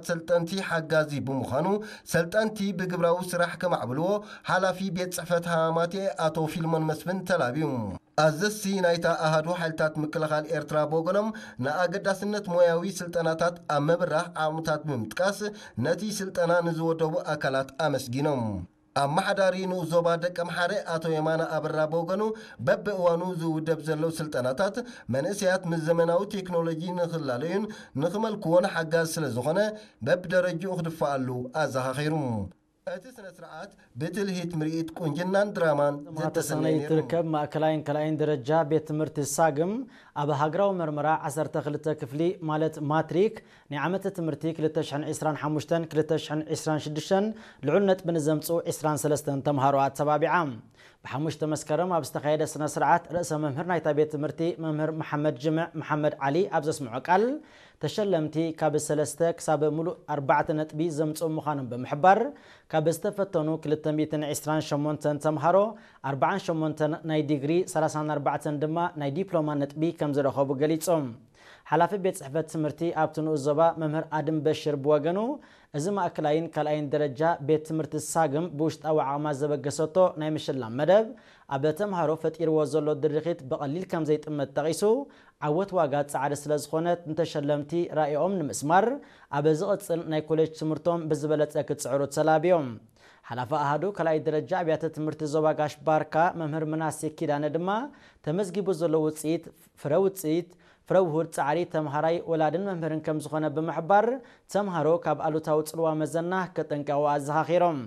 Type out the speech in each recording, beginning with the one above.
ሰልጠንቲ ሓጋዚ ብምዃኑ፣ ሰልጠንቲ ብግብራዊ ስራሕ ከማዕብልዎ ሓላፊ ቤት ጽሕፈት ሃማማቴ ኣቶ ፊልሞን መስፍን ተላብዩ። ኣዘዝቲ ናይታ ኣሃዱ ሓይልታት ምክልኻል ኤርትራ ብወገኖም፣ ንኣገዳስነት ሞያዊ ስልጠናታት ኣብ ምብራህ ዓቕምታት ብምጥቃስ፣ ነቲ ስልጠና ንዝወደቡ ኣካላት ኣመስጊኖም። ኣመሓዳሪ ንኡስ ዞባ ደቀምሓረ ኣቶ የማነ ኣበራ ብወገኑ፣ በብእዋኑ ዝውደብ ዘሎ ስልጠናታት መንእሰያት ምስ ዘመናዊ ቴክኖሎጂ ንኽላለዩን ንኽመልክዎን ሓጋዝ ስለ ዝኾነ፣ በብደረጅኡ ክድፈኣሉ ኣዘኻኺሩ። እቲ ስነ ስርዓት ብትልሂት ምርኢት ቁንጅናን ድራማን ዝተሰነየ ነይሩ። ትርከብ ማእከላይን ካልኣይን ደረጃ ቤት ትምህርቲ ሳግም ኣብ ሃገራዊ መርመራ ዓሰርተ ክልተ ክፍሊ ማለት ማትሪክ ናይ ዓመተ ትምህርቲ ክልተ ሽሕን ዕስራን ሓሙሽተን ክልተ ሽሕን ዕስራን ሽዱሽተን ልዑል ነጥቢ ንዘምጽኡ ዕስራን ሰለስተን ተምሃሮ ኣተባቢዓ። ብሓሙሽተ መስከረም ኣብ ዝተኻየደ ስነ ስርዓት ርእሰ መምህር ናይታ ቤት ትምህርቲ መምህር መሓመድ ጅምዕ መሓመድ ዓሊ ኣብ ዘስምዖ ቃል፣ ተሸለምቲ ካብ ሰለስተ ክሳብ ሙሉእ ኣርባዕተ ነጥቢ ዘምጽኡ ምዃኖም ብምሕባር፣ ካብ ዝተፈተኑ ክልተ ሚእትን ዕስራን ሸሞንተን ተምሃሮ ኣርባዓን ሸሞንተን ናይ ዲግሪ፣ ሰላሳን ኣርባዕተን ድማ ናይ ዲፕሎማ ነጥቢ ከም ዝረኸቡ ገሊጾም። ሓላፊ ቤት ጽሕፈት ትምህርቲ ኣብቲ ንኡስ ዞባ መምህር ኣድም በሽር ብወገኑ፣ እዚ ማእከላይን ካልኣይን ደረጃ ቤት ትምህርቲ ሳግም ብውሽጣዊ ዓቕማ ዘበገሰቶ ናይ ምሽላም መደብ፣ ኣብ ተምሃሮ ፈጢርዎ ዘሎ ድርኺት ብቐሊል ከም ዘይጥመት ጠቒሱ፣ ዓወት ዋጋ ጻዕሪ ስለ ዝኾነት፣ ንተሸለምቲ ራእይኦም ንምስማር ኣብ ዝቕጽል ናይ ኮሌጅ ትምህርቶም ብዝበለጸ ክጽዕሩ ተላብዮም። ሓላፊ ኣሃዱ ካልኣይ ደረጃ ኣብያተ ትምህርቲ ዞባ ጋሽ ባርካ መምህር ምናሴ ኪዳነ ድማ፣ ተመዝጊቡ ዘሎ ውጽኢት፣ ፍረ ውጽኢት፣ ፍረ ውሁድ ጻዕሪ ተምሃራይ፣ ወላድን መምህርን ከም ዝኾነ ብምሕባር፣ ተምሃሮ ካብ ኣሉታዊ ጽልዋ መዘና ከጠንቀቑ ኣዘኻኺሮም።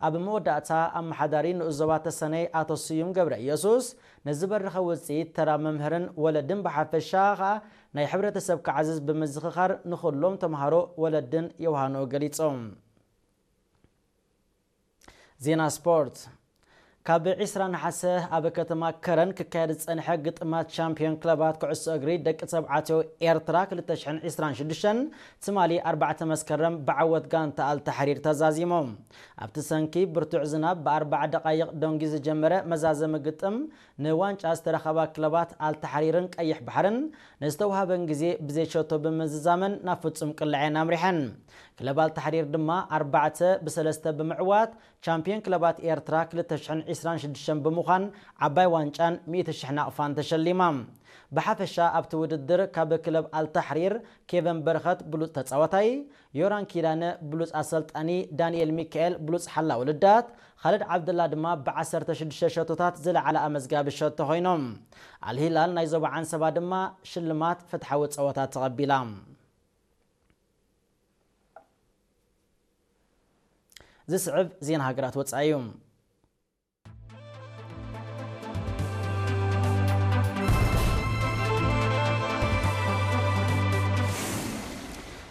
ኣብ መወዳእታ፣ ኣመሓዳሪ ንኡስ ዞባ ተሰነይ ኣቶ ስዩም ገብረ ኢየሱስ፣ ነዚ በረኸ ውጽኢት ተራ መምህርን ወለድን ብሓፈሻ ኸኣ ናይ ሕብረተሰብ ክዓዝዝ ብምዝኽኻር፣ ንኹሎም ተምሃሮ፣ ወለድን የውሃንኡ ገሊጾም። ዜና ስፖርት። ካብ ዕስራ ነሓሰ ኣብ ከተማ ከረን ክካየድ ዝጸንሐ ግጥማት ሻምፒዮን ክለባት ኩዕሶ እግሪ ደቂ ተባዕትዮ ኤርትራ ክልተ ሽሕን ዕስራን ሽዱሽተን ትማሊ ኣርባዕተ መስከረም ብዓወት ጋንታ ኣልታሕሪር ተዛዚሞም። ኣብቲ ሰንኪ ብርቱዕ ዝናብ ብኣርባዓ ደቓይቕ ደንጊዩ ዝጀመረ መዛዘሚ ግጥም፣ ንዋንጫ ዝተረኸባ ክለባት ኣልታሕሪርን ቀይሕ ባሕርን ንዝተዋህበን ግዜ ብዘይሸቶ ብምዝዛመን ናብ ፍጹም ቅላዕ እየን ኣምሪሐን። ክለብ ኣልታሕሪር ድማ ኣርባዕተ ብሰለስተ ብምዕዋት ቻምፒዮን ክለባት ኤርትራ ክልተ ሽሕን ዕስራን ሽዱሽተን ብምዃን ዓባይ ዋንጫን ሚእቲ ሽሕ ናቕፋን ተሸሊማ። ብሓፈሻ ኣብቲ ውድድር ካብ ክለብ ኣልታሕሪር ኬቨን በረኸት ብሉጽ ተጻዋታይ፣ ዮራን ኪዳነ ብሉጽ ኣሰልጣኒ፣ ዳንኤል ሚካኤል ብሉጽ ሓላው ልዳት፣ ኻልድ ዓብደላ ድማ ብዓሰርተ ሽዱሽተ ሸቶታት ዝለዓለ ኣመዝጋቢ ሸቶ ኮይኖም። ኣልሂላል ናይ ዞባ ዓንሰባ ድማ ሽልማት ፍትሓዊ ጸወታ ተቐቢላ። ዝስዕብ ዜና ሃገራት ወጻኢ እዩ።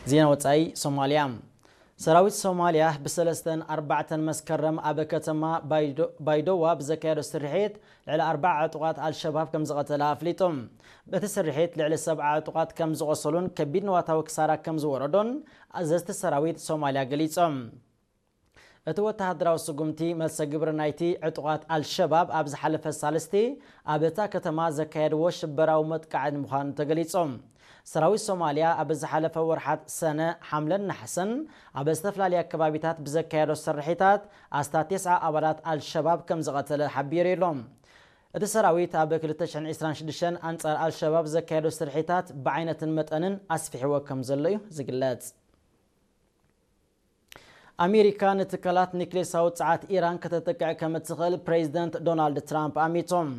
ዜና ወጻኢ። ሶማልያ። ሰራዊት ሶማልያ ብሰለስተን ኣርባዕተን መስከረም ኣብ ከተማ ባይዶ-፣ ባይዶዋ ብዘካየዶ ስርሒት ልዕሊ ኣርባዓ ዕጡቓት ኣልሸባብ ከም ዝቐተለ ኣፍሊጡ። በቲ ስርሒት ልዕሊ ሰብዓ ዕጡቓት ከም ዝቖሰሉን ከቢድ ንዋታዊ ክሳራ ከም ዝወረዶን ኣዘዝቲ ሰራዊት ሶማልያ ገሊጾም። እቲ ወተሃደራዊ ስጉምቲ፣ መልሰ ግብሪ ናይቲ ዕጡቓት ኣልሸባብ ኣብ ዝሓለፈ ሳልስቲ ኣብ እታ ከተማ ዘካየድዎ ሽበራዊ መጥቃዕቲ ምዃኑ ተገሊጹ። ሰራዊት ሶማልያ ኣብ ዝሓለፈ ወርሓት ሰነ፣ ሓምለን ነሓሰን ኣብ ዝተፈላለያ ከባቢታት ብዘካየዶ ስርሒታት፣ ኣስታት ተስዓ ኣባላት ኣልሸባብ ከም ዝቐተለ ሓቢሩ ኣሎ። እቲ ሰራዊት ኣብ ክልተ ሽሕን ዕስራን ሽዱሽተን ኣንጻር ኣልሸባብ ዘካየዶ ስርሒታት ብዓይነትን መጠንን ኣስፊሕዎ ከም ዘሎ እዩ ዝግለጽ። ኣሜሪካ ንትካላት ኒክሌሳዊ ጸዓት ኢራን ከተጥቅዕ ከም እትኽእል ፕሬዚደንት ዶናልድ ትራምፕ ኣሚቶም።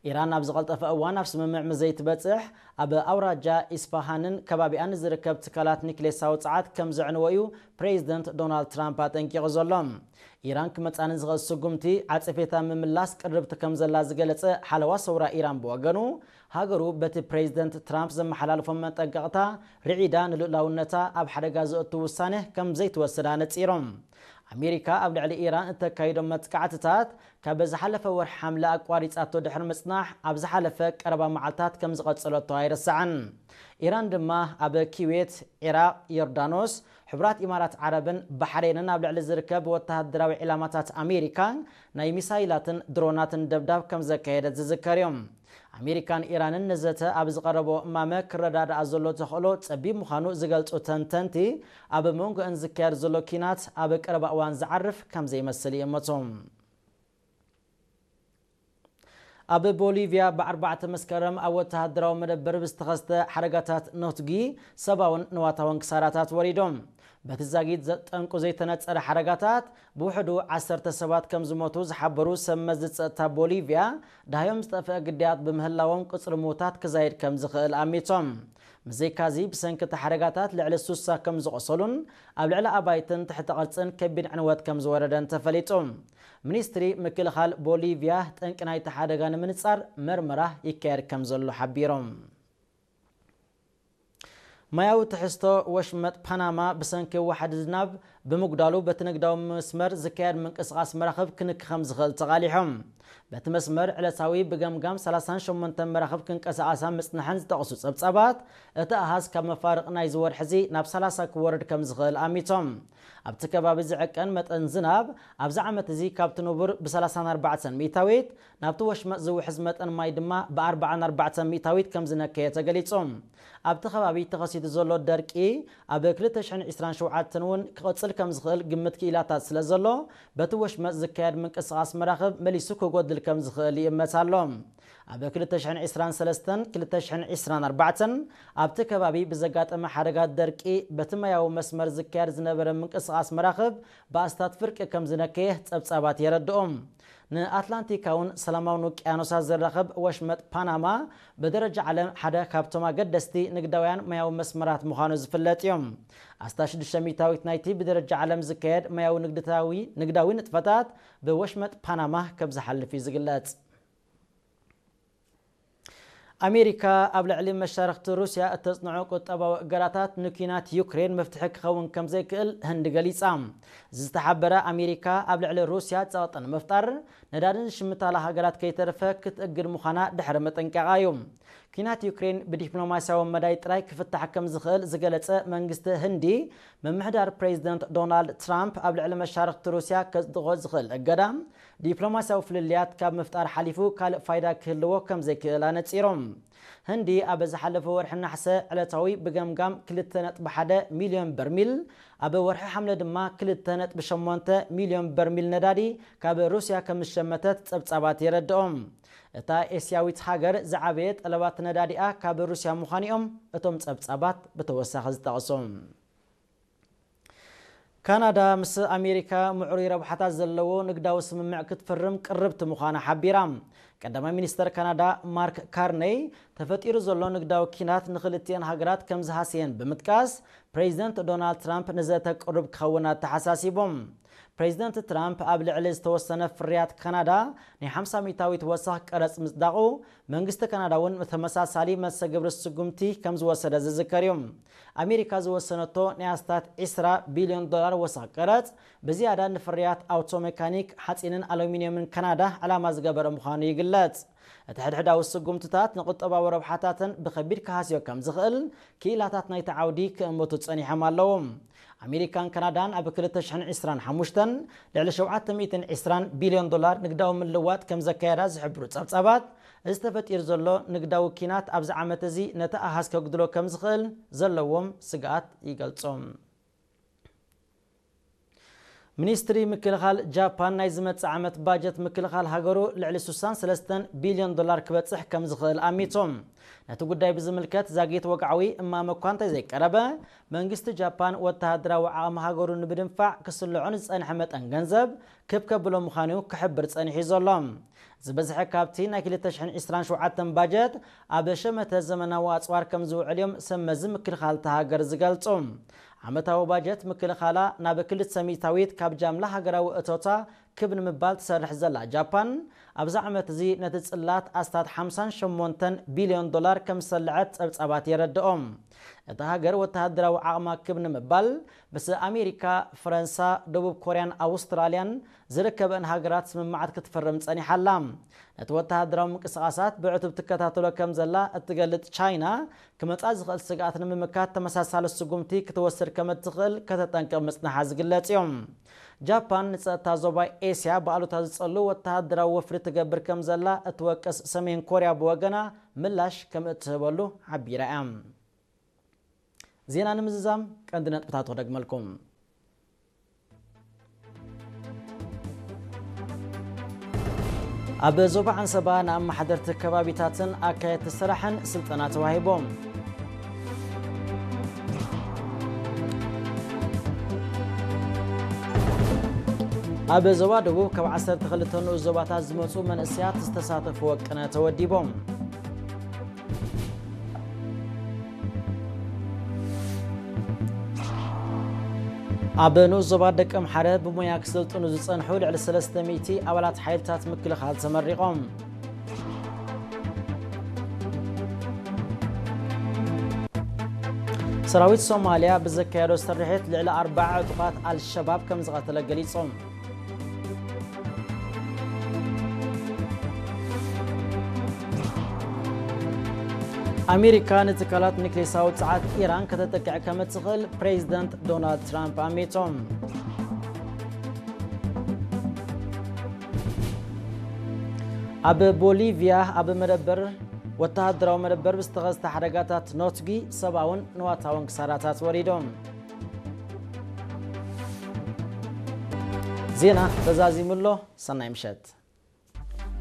ኢራን ኣብ ዝቐልጠፈ እዋን ኣብ ስምምዕ ምስ ዘይትበጽሕ፣ ኣብ ኣውራጃ ኢስፋሃንን ከባቢኣን ንዝርከብ ትካላት ኒክሌሳዊ ጸዓት ከም ዘዕንዎ እዩ ፕሬዚደንት ዶናልድ ትራምፕ ኣጠንቂቑ ዘሎ። ኢራን ክመጻኒ ዝኽእል ስጉምቲ ዓጸፌታ ምምላስ ቅርብቲ ከም ዘላ ዝገለጸ ሓለዋ ሰውራ ኢራን ብወገኑ፣ ሃገሩ በቲ ፕሬዚደንት ትራምፕ ዘመሓላልፎ መጠንቀቕታ ርዒዳ፣ ንልኡላውነታ ኣብ ሓደጋ ዘእቱ ውሳነ ከም ዘይትወስድ ኣነጺሮም። ኣሜሪካ ኣብ ልዕሊ ኢራን እተካይዶ መጥቃዕትታት ካብ ዝሓለፈ ወርሒ ሓምለ ኣቋሪጻቶ ድሕሪ ምጽናሕ፣ ኣብ ዝሓለፈ ቀረባ መዓልታት ከም ዝቐጸለቶ ኣይረስዓን። ኢራን ድማ ኣብ ኪዌት፣ ዒራቕ፣ ዮርዳኖስ፣ ሕቡራት ኢማራት ዓረብን ባሕሬንን ኣብ ልዕሊ ዝርከብ ወተሃደራዊ ዒላማታት ኣሜሪካ ናይ ሚሳይላትን ድሮናትን ደብዳብ ከም ዘካየደት ዝዝከር እዩ። ኣሜሪካን ኢራንን ንዘተ ኣብ ዝቐረቦ እማመ ክረዳድኣ ዘሎ ተኽእሎ ጸቢብ ምዃኑ ዝገልጹ ተንተንቲ፣ ኣብ መንጎአን ዝካየድ ዘሎ ኪናት ኣብ ቀረባ እዋን ዝዓርፍ ከም ዘይመስል ይእምቱ። ኣብ ቦሊቪያ ብኣርባዕተ መስከረም ኣብ ወተሃደራዊ መደበር ብዝተኸስተ ሓደጋታት ነትጒ ሰብኣውን ንዋታውን ክሳራታት ወሪዶም። በቲ ዛጊት ዘጠንቁ ዘይተነጸረ ሓደጋታት ብውሕዱ ዓሰርተ ሰባት ከም ዝሞቱ ዝሓበሩ ሰብ መዚ ጸጥታ ቦሊቪያ፣ ዳህዮም ዝጠፍአ ግዳያት ብምህላዎም ቁጽሪ ምዉታት ክዛይድ ከም ዝኽእል ኣሚቶም። ብዘይካዚ ብሰንኪ እቲ ሓደጋታት ልዕሊ ሱሳ ከም ዝቖሰሉን ኣብ ልዕሊ ኣባይትን ትሕተ ቅርጽን ከቢድ ዕንወት ከም ዝወረደን ተፈሊጡ። ሚኒስትሪ ምክልኻል ቦሊቪያ ጠንቂ ናይቲ ሓደጋ ንምንጻር መርመራ ይካየድ ከም ዘሎ ሓቢሮም። ማያዊ ትሕዝቶ ወሽመጥ ፓናማ ብሰንኪ ዋሕዲ ዝናብ ብምጉዳሉ በቲ ንግዳዊ መስመር ዝካየድ ምንቅስቓስ መራኽብ ክንኪ ከም ዝኽእል ተቓሊሖም። በቲ መስመር ዕለታዊ ብገምጋም ሰላሳን ሸሞንተን መራኽብ ክንቀሳቐሳ ምጽንሐን ዝጠቕሱ ጸብጻባት፣ እቲ ኣሃዝ ካብ መፋርቕ ናይዚ ወርሒ እዚ ናብ ሰላሳ ክወርድ ከም ዝኽእል ኣሚቶም። ኣብቲ ከባቢ ዝዕቀን መጠን ዝናብ ኣብዚ ዓመት እዚ ካብቲ ንቡር ብ ሰላሳን ኣርባዕተን ሚእታዊት፣ ናብቲ ወሽመጥ ዝውሕዝ መጠን ማይ ድማ ብ ኣርባዓን ኣርባዕተን ሚእታዊት ከም ዝነከየ ተገሊጹ። ኣብቲ ከባቢ ተኸሲቱ ዘሎ ደርቂ ኣብ ክልተ ሽሕን ዕስራን ሸውዓተን እውን ክቕጽል ከም ዝኽእል ግምት ክኢላታት ስለ ዘሎ፣ በቲ ወሽመጥ ዝካየድ ምንቅስቓስ መራኽብ መሊሱ ክጎድል ከም ዝኽእል ይእመት ኣሎ። ኣብ ክልተ ሽሕን ዕስራን ሰለስተን ክልተ ሽሕን ዕስራን ኣርባዕተን ኣብቲ ከባቢ ብዘጋጠመ ሓደጋ ደርቂ በቲ ማያዊ መስመር ዝካየድ ዝነበረ ምንቅስቓስ መራኽብ ብኣስታት ፍርቂ ከም ዝነከየ ጸብጻባት የረድኡ። ንኣትላንቲካውን ሰላማውን ውቅያኖሳት ዘራኽብ ወሽመጥ ፓናማ ብደረጃ ዓለም ሓደ ካብቶም ኣገደስቲ ንግዳውያን ማያዊ መስመራት ምዃኑ ዝፍለጥ እዩ። ኣስታት ሽዱሽተ ሚእታዊት ናይቲ ብደረጃ ዓለም ዝካየድ ማያዊ ንግድታዊ ንግዳዊ ንጥፈታት ብወሽመጥ ፓናማ ከም ዝሓልፍ እዩ ዝግለጽ። ኣሜሪካ ኣብ ልዕሊ መሻርኽቲ ሩስያ እተጽንዖ ቁጠባዊ እገዳታት ንኲናት ዩክሬን መፍትሒ ክኸውን ከም ዘይክእል ህንዲ ገሊጻ። እዚ ዝተሓበረ ኣሜሪካ ኣብ ልዕሊ ሩስያ ጸቕጢ ንምፍጣር ነዳድን ዝሽምታላ ሃገራት ከይተርፈ ክትእግድ ምዃና ድሕሪ ምጥንቃቓ እዩ። ኲናት ዩክሬን ብዲፕሎማስያዊ መዳይ ጥራይ ክፍታሕ ከም ዝኽእል ዝገለጸ መንግስቲ ህንዲ፣ ምምሕዳር ፕሬዚደንት ዶናልድ ትራምፕ ኣብ ልዕሊ መሻርኽቲ ሩስያ ከጽድቖ ዝኽእል እገዳ ዲፕሎማስያዊ ፍልልያት ካብ ምፍጣር ሓሊፉ ካልእ ፋይዳ ክህልዎ ከም ዘይክእል ኣነጺሮም። ህንዲ ኣብ ዝሓለፈ ወርሒ ናሕሰ ዕለታዊ ብገምጋም ክልተ ነጥቢ ሓደ ሚልዮን በርሚል፣ ኣብ ወርሒ ሓምለ ድማ ክልተ ነጥቢ ሸሞንተ ሚልዮን በርሚል ነዳዲ ካብ ሩስያ ከም ዝሸመተት ጸብጻባት የረድኦም። እታ ኤስያዊት ሃገር ዝዓበየ ጠለባት ነዳዲኣ ካብ ሩስያ ምዃኑ እዮም እቶም ጸብጻባት ብተወሳኺ ዝጠቕሱ። ካናዳ ምስ ኣሜሪካ ምዕሩይ ረብሓታት ዘለዎ ንግዳዊ ስምምዕ ክትፍርም ቅርብቲ ምዃና ሓቢራ። ቀዳማይ ሚኒስተር ካናዳ ማርክ ካርነይ፣ ተፈጢሩ ዘሎ ንግዳዊ ኪናት ንኽልቲኤን ሃገራት ከም ዝሃሰየን ብምጥቃስ፣ ፕሬዚደንት ዶናልድ ትራምፕ ንዘተ ቅሩብ ክኸውን ኣተሓሳሲቦም። ፕሬዚደንት ትራምፕ ኣብ ልዕሊ ዝተወሰነ ፍርያት ካናዳ ናይ ሓምሳ ሚእታዊት ወሰኽ ቀረጽ ምጽዳቑ፣ መንግስቲ ካናዳ እውን ተመሳሳሊ መሰግብሪ ስጉምቲ ከም ዝወሰደ ዝዝከር እዩ። ኣሜሪካ ዝወሰነቶ ናይ ኣስታት ዕስራ ቢልዮን ዶላር ወሰኽ ቀረጽ ብዝያዳ ንፍርያት ኣውቶ ሜካኒክ፣ ሓጺንን ኣሉሚንየምን ካናዳ ዕላማ ዝገበረ ምዃኑ ይግለጽ። እቲ ሕድሕዳዊ ስጉምትታት ንቁጠባዊ ረብሓታተን ብኸቢድ ክሃስዮ ከም ዝኽእል ክኢላታት ናይቲ ዓውዲ ክእምቱ ጸኒሖም ኣለዉ። ኣሜሪካን ካናዳን ኣብ ክልተ ሽሕን ዕስራን ሓሙሽተን ልዕሊ ሸውዓተ ሚእትን ዕስራን ቢልዮን ዶላር ንግዳዊ ምልዋጥ ከም ዘካየዳ ዝሕብሩ ጸብጻባት፣ እዚ ተፈጢሩ ዘሎ ንግዳዊ ኪናት ኣብዚ ዓመት እዚ ነቲ ኣሃዝ ከጉድሎ ከም ዝኽእል ዘለዎም ስግኣት ይገልጹ። ሚኒስትሪ ምክልኻል ጃፓን ናይ ዝመጽእ ዓመት ባጀት ምክልኻል ሃገሩ ልዕሊ ስሳን ሰለስተን ቢልዮን ዶላር ክበጽሕ ከም ዝኽእል ኣሚቶም። ነቲ ጉዳይ ብዝምልከት ዛጊት ወግዓዊ እማመ እኳ እንተዘይቀረበ፣ መንግስቲ ጃፓን ወተሃደራዊ ዓቕሚ ሃገሩ ንምድንፋዕ ክስልዖ ንዝጸንሐ መጠን ገንዘብ ክብ ከብሎ ምዃኑ ክሕብር ጸኒሑ ዘሎ። ዝበዝሐ ካብቲ ናይ ክልተ ሽሕን ዕስራን ሸውዓተን ባጀት ኣብ ሸመተ ዘመናዊ ኣጽዋር ከም ዝውዕል እዮም ሰብ መዚ ምክልኻል እታ ሃገር ዝገልጹ። ዓመታዊ ባጀት ምክልኻላ ናብ ክልተ ሚእታዊት ካብ ጃምላ ሃገራዊ እቶታ ክብ ንምባል ትሰርሕ ዘላ ጃፓን፣ ኣብዚ ዓመት እዚ ነቲ ጽላት ኣስታት ሓምሳን ሸሞንተን ቢልዮን ዶላር ከም ዝሰልዐት ጸብጻባት የረድኦም። እታ ሃገር ወተሃደራዊ ዓቕማ ክብ ንምባል ምስ ኣሜሪካ፣ ፈረንሳ፣ ደቡብ ኮርያን ኣውስትራልያን ዝርከበን ሃገራት ስምምዓት ክትፍርም ጸኒሓ ኣላ። ነቲ ወተሃደራዊ ምንቅስቓሳት ብዕቱብ ትከታተሎ ከም ዘላ እትገልጽ ቻይና፣ ክመጻ ዝኽእል ስግኣት ንምምካት ተመሳሳሊ ስጉምቲ ክትወስድ ከም እትኽእል ከተጠንቅቕ ምጽንሓ ዝግለጽ እዩ። ጃፓን ንጸጥታ ዞባ ኤስያ ብኣሉታ ዝጸሉ ወተሃደራዊ ወፍሪ ትገብር ከም ዘላ እትወቅስ ሰሜን ኮርያ ብወገና ምላሽ ከም እትህበሉ ሓቢራ እያ። ዜና ንምዝዛም ቀንዲ ነጥብታት ክደግመልኩም። ኣብ ዞባ ዓንሰባ ንኣመሓደርቲ ከባቢታትን ኣካየድቲ ስራሕን ስልጠና ተዋሂቦም። ኣብ ዞባ ደቡብ ካብ ዓሰርተ ክልተ ንኡስ ዞባታት ዝመጹ መንእሰያት ዝተሳተፍዎ ቅነ ተወዲቦም። ኣብ ንኡስ ዞባ ደቀምሓረ ብሞያ ክሰልጥኑ ዝጸንሑ ልዕሊ ሰለስተ ሚእቲ ኣባላት ሓይልታት ምክልኻል ተመሪቖም። ሰራዊት ሶማልያ ብዘካየዶ ስርሒት ልዕሊ ኣርባዓ ዕጡቓት ኣልሸባብ ከም ዝቐተለ ገሊጹ። ኣሜሪካ ንትካላት ኒክሌሳዊ ጸዓት ኢራን ከተጥቅዕ ከም እትኽእል ፕሬዚደንት ዶናልድ ትራምፕ ኣሚቶም። ኣብ ቦሊቪያ ኣብ መደበር፣ ወተሃደራዊ መደበር ብዝተኸስተ ሓደጋታት ኖትጊ ሰብኣውን ንዋታውን ክሳራታት ወሪዶም። ዜና ተዛዚሙ ኣሎ። ሰናይ ምሸት።